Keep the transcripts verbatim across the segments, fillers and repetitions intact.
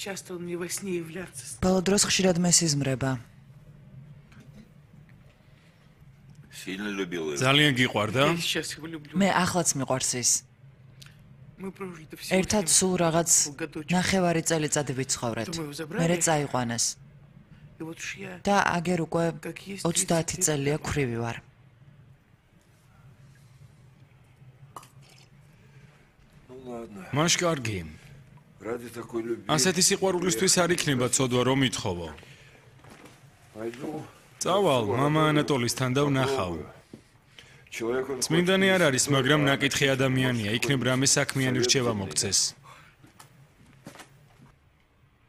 Часто он мне во сне являться. Ბოლო დროს ხშირად მესიზმრება. Сильно любил его. ძალიან გიყვარდა? Я сейчас его люблю. მე ახლაც მიყვარს ის. Мы прожили это всего ერთად семь სულ რაღაც годочек. ნახევარი წელიწადი ვიცხოვრეთ. მერე წაიყვანეს. И вот уж я და აგერ უკვე как есть ოცდაათი წელია ქვრივი ვარ. Ну ладно. მაშ კარგი. Ради такой любви. ასეთი სიყვარულისთვის არ იქნება ცოდვა რომ ითხოვო. Пойду. წავალ მამა ანატოლისთან და ვნახავ. Человек он წმინდანი არ არის, მაგრამ ნაკითხი ადამიანია, იქნებ რამე საქმიანი რჩევა მოგცეს.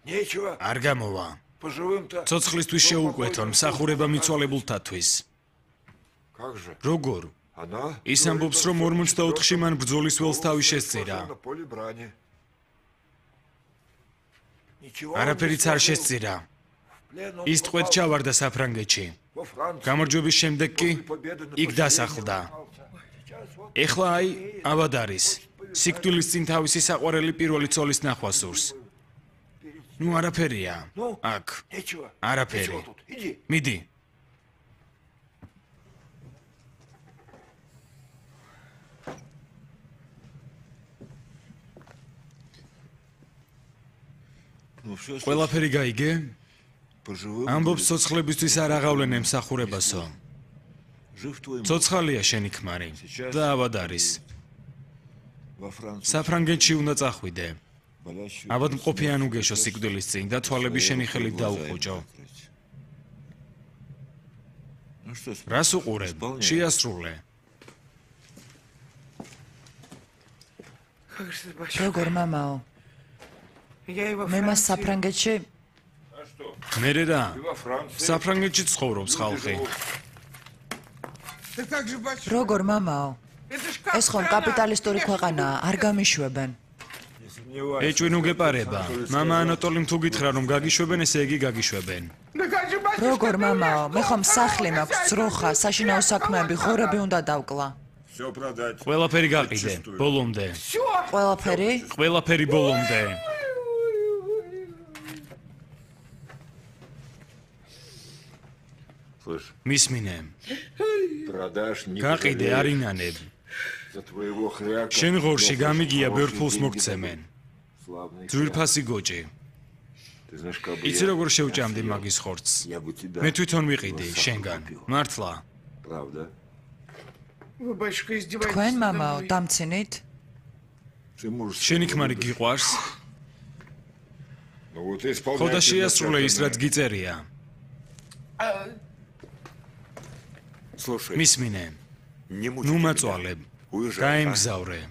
Нечего. არ გამოვა. Поживым-то. ცოცხლისთვის შეუკვეთონ მსახურება მიცვალებულთათვის. Как же? როგორ? Она ის ამბობს, რომ ორმოცდაოთხში მან ბრძოლის ველს თავი შესწირა. на поле брани. Ничего. არაფერიც არ შესწირა. ის ტყვედ ჩავარდა საფრანგეთში. Во Франции. გამარჯვების შემდეგ კი იქ დასახლდა. ეხლა აი ავად არის. სიკვდილის წინ თავისი საყვარელი первой ცოლის ნახვა სურს. ნუ არაფერია. აქ Нечего. არაფერი. Нечего тут. Иди. მიდი. Ну все, ყველაფერი გაიგე? поживым. ამბობს ცოცხლებისთვის არ აღავლენ ემსახურებასო. Жив твой муж ცოცხალია შენი ქმარი და ავად არის. во Франции. საფრანგეთში უნდა წახვიდე. Болящую. ავად მყოფი ან უგეშო სიკვდილის წინ და თვალები შენი ხელით დაუხუჭო. Ну что, რას უყურებ? შეასრულე. Как же это большое. როგორ მამაო? Я его მე მას საფრანგეთში მერე რა? во Франции. საფრანგეთში ცხოვრობს ხალხი. Да как же большое. როგორ მამაო? Это ж как ეს ხომ страна. კაპიტალისტური ქვეყანაა, არ გამიშვებენ. Не сомневайся. ეჭვი ნუ გეპარება. მამა ანატოლიმ თუ გითხრა რომ გაგიშვებენ, ესე იგი გაგიშვებენ. Да как же большое. როგორ მამაო? მე ხომ სახლი მაქვს, ძროხა, საშინაო საქმეები, ღორები უნდა დავკლა. Все продать. ყველაფერი გაყიდე, ბოლომდე. Всё. ყველაფერი? ყველაფერი ბოლომდე. Слышь, მისმინე. продашь не გაყიდე, пожалеешь. არინანებ. За твоего хряка. შენ ღორში Лопнешь გამიგია хорошие ბევრ ფულს деньги მოგცემენ. дадут. Славный ძვირფასი გოჭი. хряк. Ты знаешь, как бы იცი я როგორ შევჭამდი съел, მაგის ხორცს? я бы тебя მე თვითონ ვიყიდი его შენგან. сахар купил. მართლა. Правда? Вы, батюшка, издеваетесь თქვენ надо მამაო, мной. დამცინით? Ты можешь... შენი себе ქმარი выбрать. გიყვარს? Ну вот и исполняй ხო და предначертанное. შეასრულე ის რაც გიწერია. Слушай, მისმინე. не мучай ნუ меня. მაწვალებ. Уезжай. а? გაემგზავრე.